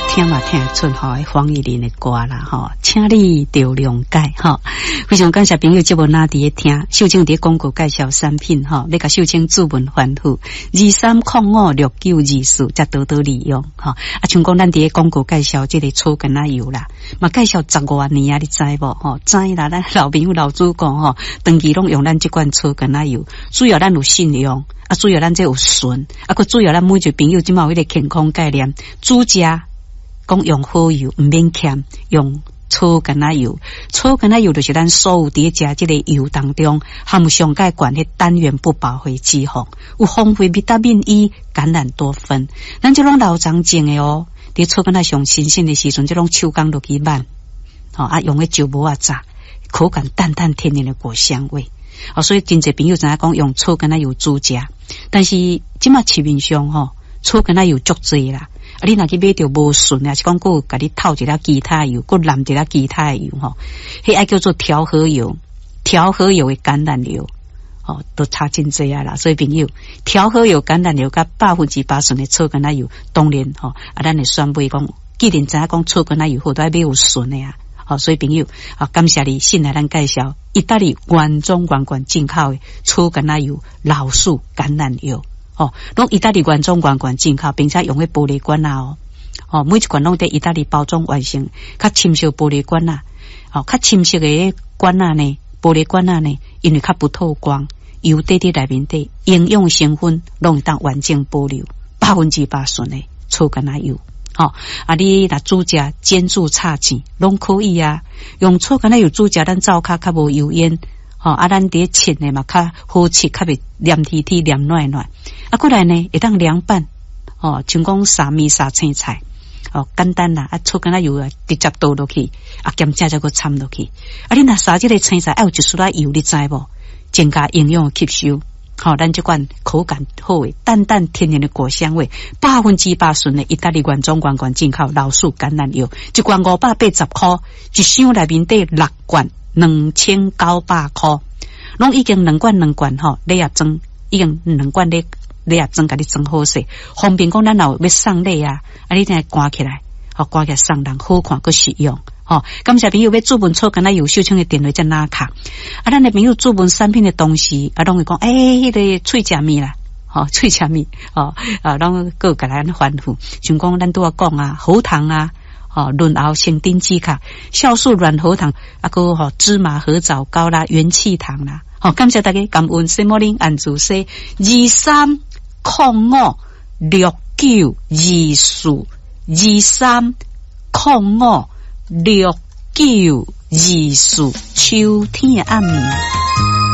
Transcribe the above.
聽嘛聽會出吼，黃義玲的歌啦吼，請你著諒解吼。非常感謝朋友節目哪佇咧聽，秀清佇廣告介紹產品吼，欲共秀清注文吩咐23056924，才多多利用吼。啊，像講咱佇咧廣告介紹這个草柑仔油啦，嘛介紹十外年啊，你知無吼？知啦，咱老朋友老主顧吼，長期攏用咱這罐草柑仔油，主要咱有信用。啊，主要咱這有純，啊，閣主要咱每一个朋友這馬有彼個健康概念，煮食講用好油，毋免儉，用草柑仔油，草柑仔油就是咱所有佇咧食這个油當中含有上蓋懸彼單元不飽和脂肪，有豐富維他命 E、橄欖多酚，咱這攏老欉種的哦。佇草柑仔上新鮮的時陣，這攏手工落去挽，吼啊，用彼石磨仔炸，口感淡淡天然的果香味。哦，所以真濟朋友知影講用草柑仔油煮食，但是這馬市面上吼草柑仔油足濟啦。啊，你若去買著無純，抑是講閣有共你透一粒其他油，閣淋一粒其他的油吼，彼愛叫做調和油，調和油的橄欖油，吼，都差真濟啊啦。所以朋友，調和油、橄欖油佮100%純的草柑仔油，當然吼，啊，咱會選買講，既然知影講草柑仔油好，都愛買有純的啊。好，所以朋友，啊，感謝你信賴咱介紹意大利原裝原罐進口的草柑仔油、老樹橄欖油，吼，攏意大利原裝原罐進口，並且用彼玻璃罐仔哦，吼，每一罐攏佇意大利包裝完成，較深色玻璃罐仔，吼，較深色的罐仔呢，玻璃罐仔呢，因為較不透光，油底佇內面底營養成分攏會當完整保留，100%純的草柑仔油。吼，啊！你若煮食煎煮炒煎攏可以啊。用草柑仔油煮食，咱灶跤較無油煙。吼，啊，咱佇咧切的嘛較好切，較袂黏貼貼、黏軟軟。啊，過來呢會當涼拌。吼，像講撒麵撒青菜，哦，簡單啦。啊，草柑仔油啊，直接倒落去，啊，兼正才閣摻落去。啊，你若撒這个青菜，愛有一絲仔油，你知無？增加營養的吸收。吼，咱這款口感好的淡淡天然的果香味，100%純的意大利原裝原罐進口老樹橄欖油，一罐580箍，一箱內面底六罐2900箍，攏已經兩罐兩罐吼，禮盒裝已經兩罐禮禮盒裝共你裝好勢，方便講咱若有欲送禮啊，啊你聽關起來，吼關起來送人好看閣實用。吼，感謝朋友欲注文草柑仔油秀清的電話才拿卡。啊，咱的朋友注文產品的同時，啊，攏會講，欸，彼个喙食物啦，吼，喙食物，吼，啊，攏閣共咱吩咐，像講咱拄仔講啊，喉糖啊，吼，潤喉生丁止咳，酵素軟喉糖，啊，閣吼芝麻褐藻膏啦，元氣糖啦，吼，感謝大家感恩，什麼恁按住說2305692423056924，秋天的暗暝。